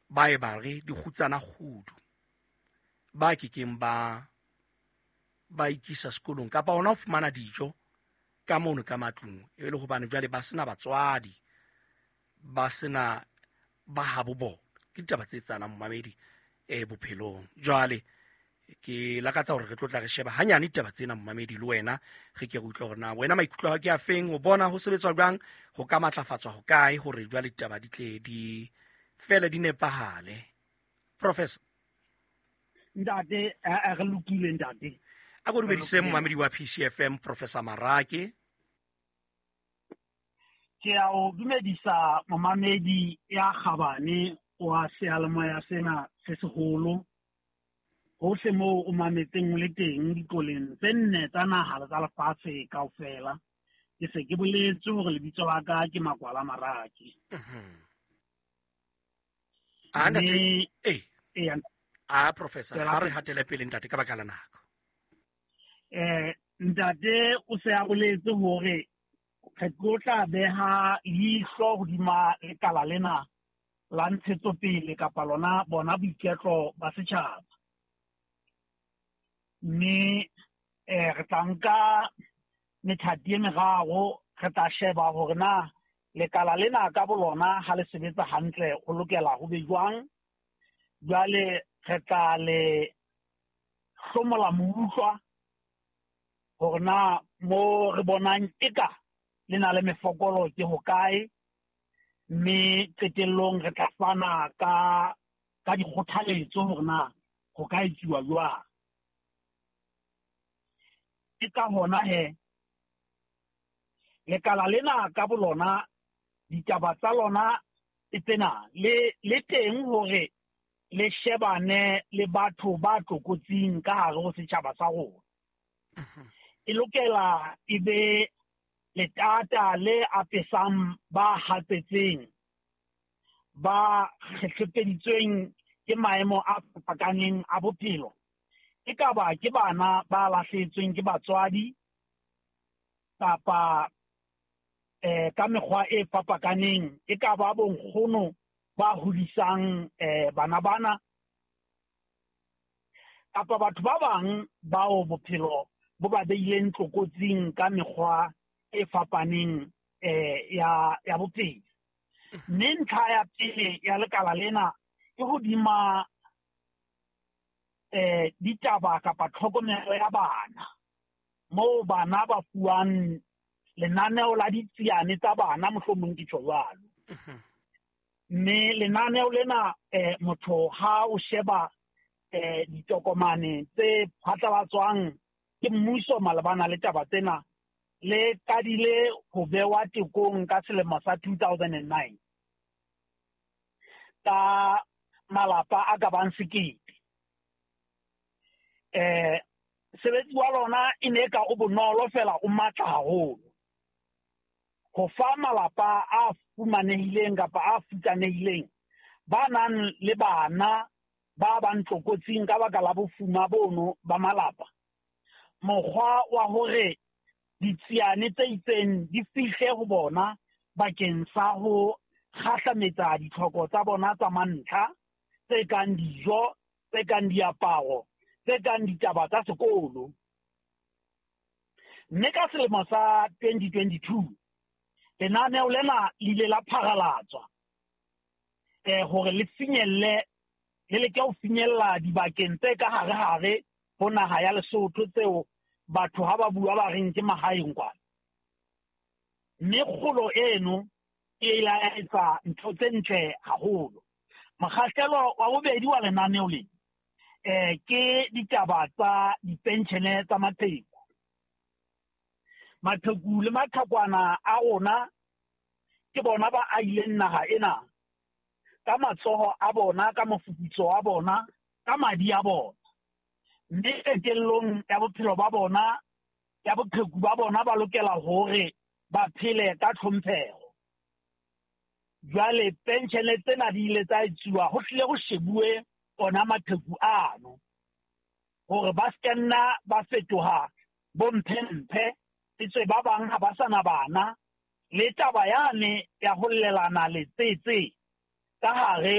Ba e ba re dikgutsana kgudu ba kekeng ba ba ikisa sekolong kapa hona ho fumana dijo ka mono ka matlung, e le hobane jwale ba sena batswadi, ba sena ba habo bona. Ke ditaba tse etsahalang, momamedi, bophelong. Jwale ke lakatsa hore re tlo tla re sheba hanyane ditaba tsena, momamedi, le wena re ke re utlwe hore na wena maikutlo a hao ke a feng, o bona ho sebetswa jwang, ho ka matlafatswa ho kae hore jwale ditaba di tle di fele di nepahale. Professor. Ntate, re lokile, ntate. A ko dumedise momamedi wa PCFM, Professor Marake. Ke a o dumedisa, momamedi ya kgabane wa seyalemoya sena se seholo, hohle moo o mametseng o le teng diqoleng tse nne tsa naha le tsa lefatshe kaofela. Ke se ke boletse hore lebitso la ka ke Makwala Marake. A ntate, eh a professor, ha re hatele pele, ntate, ka baka la nako. Ntate o se a boletse hore re tlo tla beha leihlo hodima lekala lena la ntshetsopele kapa lona bona boiketlo ba setjhaba, mme re tla nka methati e meraro. Re tla sheba hore na lekala lena ka bolona ha le sebetsa hantle ho lokela ho be jwang. Jwale re tla le hlomola moutlwa hore na mo re bonang eka le na le mefokolo ke hokae, mme qetellong re tla fana ka dikgothaletso hore na ho ka etsuwa jwang. Ke ka hona he lekala lena ka bolona, ditaba tsa lona ke tsena, le teng hore le shebane le batho ba tlokotsing ka hare ho setjhaba sa rona. E lokela e be letata le apesang ba hatsetseng, ba kgehlepeditsweng ke maemo a fapakaneng a bophelo, e ka ba ke bana ba lahlehetsweng ke batswadi kapa ka mekgwa e fapakaneng, e ka ba bonkgono ba hodisang bana bana kapa batho ba bang bao bophelo bo ba beileng tlokotsing ka mekgwa e fapaneng ya bophelo. Mme ntlha ya pele ya lekala lena ke hodima ditaba kapa tlhokomelo ya bana, moo bana ba fuwang lenaneo la ditsiane tsa bana, mohlomong ke tjho jwalo. Mme lenaneo lena, motho ha o sheba ditokomane tse phatlalatswang ke mmuso malebana le taba tsena, le qadile ho bewa tekong ka selemo sa 2009 ka malapa a ka bang 1000. Sebetsi wa lona e ne ka o bonolo fela o matla haholo ho fa malapa a fumanehileng kapa a futsanehileng ba nang le bana ba bang tlokotsing ka baka la bofuma bono ba malapa, mokgwa wa hore ditsiane tse itseng di fihle ho bona bakeng sa ho kgahlametsa ditlhoko tsa bona tsa mantlha, tse kang dijo, tse kang diaparo, tse kang ditaba tsa sekolo. Mme ka selemo sa 2022 lenaneo lena le ile la pharalatswa hore le finyelle, le leke ho finyella dibakeng tse ka hare-hare ho naha ya Lesotho tseo batho ha ba bua ba reng ke mahaeng kwana. Mme kgolo eno e ile ya etsa ntho tse ntle haholo. Mokgahlelo wa bobedi wa lenaneo le ke ditaba tsa dipenshene tsa maqheku. Maqheku le maqhekwana a rona ke bona ba ahileng naha ena ka matsoho a bona, ka mofufutso wa bona, ka madi a bona. Mme qetellong ya bophelo ba bona, ya boqheku ba bona, ba lokela hore ba phele ka tlhompheho. Jwale penshene tsena di ile tsa etsuwa ho hlile ho shebuwe ona maqheku ano, hore ba se nna ba fetoha bomphemphe, etswe ba bang ha ba sa na bana, le taba yane ya ho llelana letsetse ka hare